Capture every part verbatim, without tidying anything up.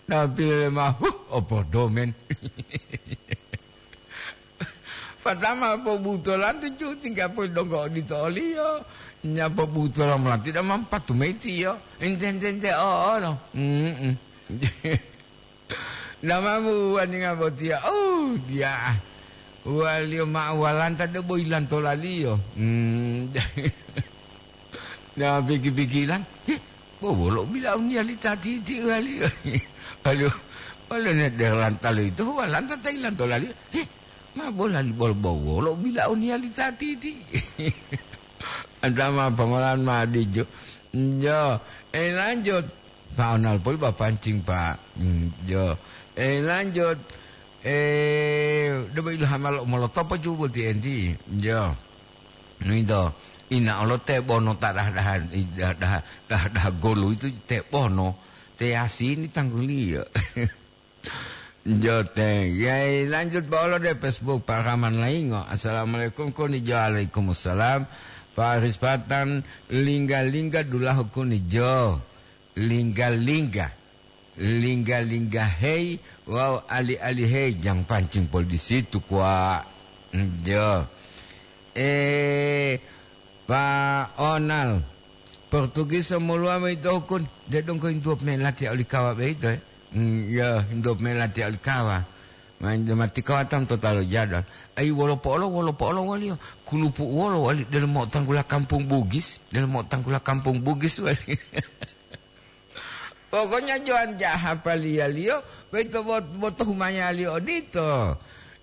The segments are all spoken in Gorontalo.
Napi le mah, huh, opodomen. Patama pobutolantu ju tingga poli donggo odito oliyo. Nya pobutola mola tidak mampatu metiyo. Ente-ente-ente, oh, oh, no. Mm-mm. Namamu waninga botiya, oh, diya. Waliyo ma'o walanta debo yilantolaliyo. Hmm. Na piki-pikilan, "Heh, bo wolo bilauniya li ta titi waliyo?" Waliyo, waliyo ne derlanta loyito, walanta ta yilantolaliyo. "Heh, ma bolali bolo bo wolo bilauniya li ta titi?" Antama pongolan ma dijo. Jo, eh, lanjut. Pak Onal poli ba pancing, Pak. Hmm, jo. Eh, lanjut. Eh, debo ilhama lo molotopo ju boti enti. Jo. Nuito. Ina olo tebono ta daha-daha, daha-daha, daha-daha golu itu tebono. Te yasini tangguliyo. Jote, yai lanjut bolo de Facebook Pak Rahman Laingo. Assalamualaikum kuni jo. Waalaikumsalam. Pak Aris Patan, lingga-lingga dulahu kuni jo. Lingga-lingga. Lingga-lingga hei, wawu ali-ali hei, jang pancing poli di situ kwa. Jo. Eh, Pak Onal, Portugis moluwa mayi tohukun, de dongko hintuwo pemela tiya oli kawa boyito, eh? Hmm, ya, hintuwo pemela tiya oli kawa. Ma, mati kawa tam tota lo jadwal. Ai, wolo po'olo, wolo po'olo waliyo. Kulupu wolo wali delo mo'otanggula kampung Bugis, delo mo'otanggula kampung Bugis wali. Pokoknya joan jaha paliyaliyo, boyito bot-, boto humayaliyo odito.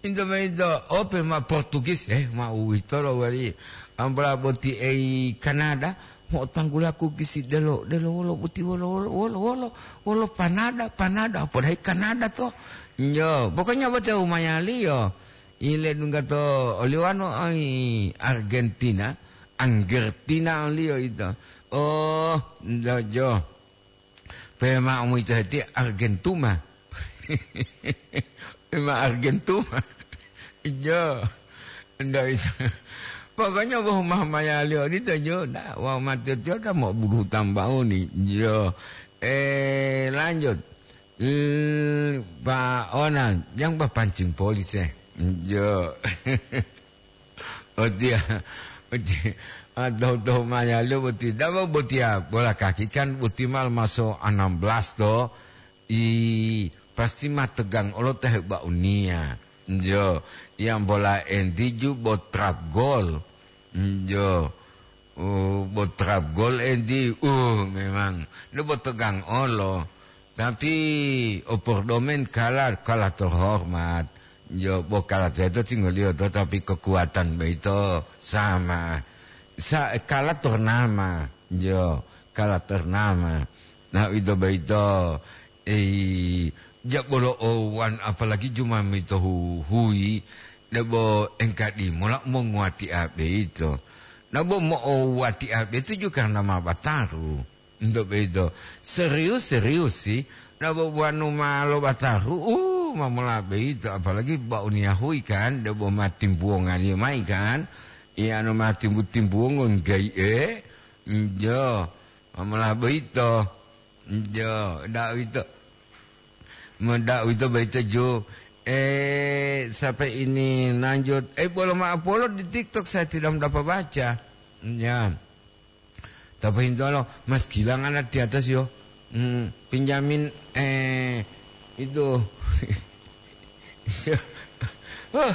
Into boyito, ope ma Portugis, eh, ma uwitolo wali. Ambola boti ei Kanada, mo'otanggula kukisi delo, delo wolo boti wolo, wolo, wolo, wolo, wolo panada, panada, podahi Kanada to. Njo, pokoknya bote humayaliyo. Ile dungga to oliwano ai Argentina, Anggertina oliyo ito. Oh, njo, jo. Pema umu ito heti Argentuma. Pema Argentuma. Jo. Ndak bisa. Pokoknya wau mah mayali odito jo. Ndak, wau mati-matiyo ta mau buruhu tambauni. Jo. Eh, lanjut. Eh, Pak Onal, yang ba pancing polis, eh. Jo. Botiya, botiya, ah, tohu-tohu mayalo boti, dabo botiya bola kaki kan boti mal maso enam belas to, i pasti ma tegang olo ta hebauniya. Njo, yang bola enti ju bo trap gol. Njo, oh, bo trap gol enti, uh, memang. Nde bo tegang olo. Tapi opordomen kala, kala terhormat. Yo, bo kala teto tinggoliyo to, tapi kekuatan boyito sama. Sa-, kala ternama. Yo, kala ternama. Nah, ito boyito, eh, jabolo owan, apalagi juma mito hu-, hui, debo engkadi mola monguati abe ito. Nah, bo mo'owati abe itu juga karena ma bataru. Nto boyito, serius, serius sih. Nah, bo-, bo anu ma lo bataru, uh, ma mola boyito, apalagi ba'uniya hui kan, debo ma timbuwongaliyo mayi kan. Iya, anu ma timbu-timbuwongo ngga'i'e, njo, ma mola boyito, njo, da'u ito, ma da'u ito boyito ju. Eh, sampai ini lanjut. Eh, bolo ma'o polo di TikTok, saya tidak dapat baca. Ya. Tapi hintolo, Mas Gilang ada di atas yo. Hmm, pinjamin, eh, itu. Wah.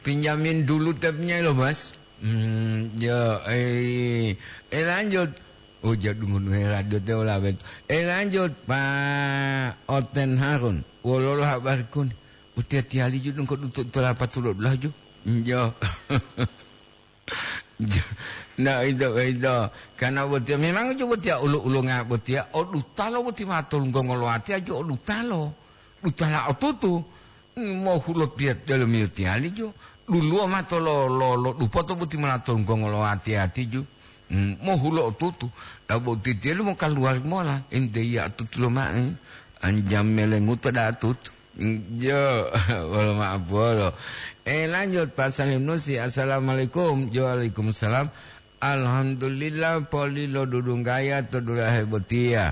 Pinjamin dulu tapnya lo, Mas. Hmm, ya, eh, eh, lanjut. Oh, jadungun radio te ola bet. Eh, lanjut, Pak Oten Harun. Wololo habarikun. Utiya-tiyali ju dongko dutu tolapa tulo dulahu ju. Hmm, ya. Ndak ito, ito. Karena botiya, memang ju botiya ulo-ulonga botiya, o dutalo boti ma tolunggongo lo atiya ju o dutalo. Dutala otutu. Mohulo tiya delomiyo tiyali jo. Duluwo mato lo, lo, lo dupoto boti mola tonggongo lo ati-ati ju. Hmm, mohulo otutu. Dabo titiyelu mokaluwari mola. Ente iya otutu loma'e. Anjam melenguto da otutu. Hmm, jo, wolo ma'apolo. Eh, lanjut, Pak Salim Nusi. Assalamualaikum. Jo, waalaikumsalam. Alhamdulillah, poli lo dudunggaya to dulahe botiya.